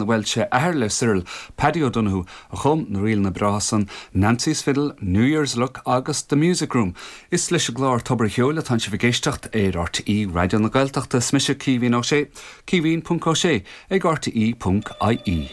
Bhuel, sé athair le Cyril, Paddy O'Donoghue, a chum na ríleanna breátha san, Nancy's Fiddle, New Year's Look agus The Music Room. Is leis an gclár Tobar an Cheoil atánn sibh ag éisteacht ar RTÉ Raidió na Gaeltachta. Is mise Caoimhín Ó Sé, caoimhín ponc ó sé ag rte ponc ie.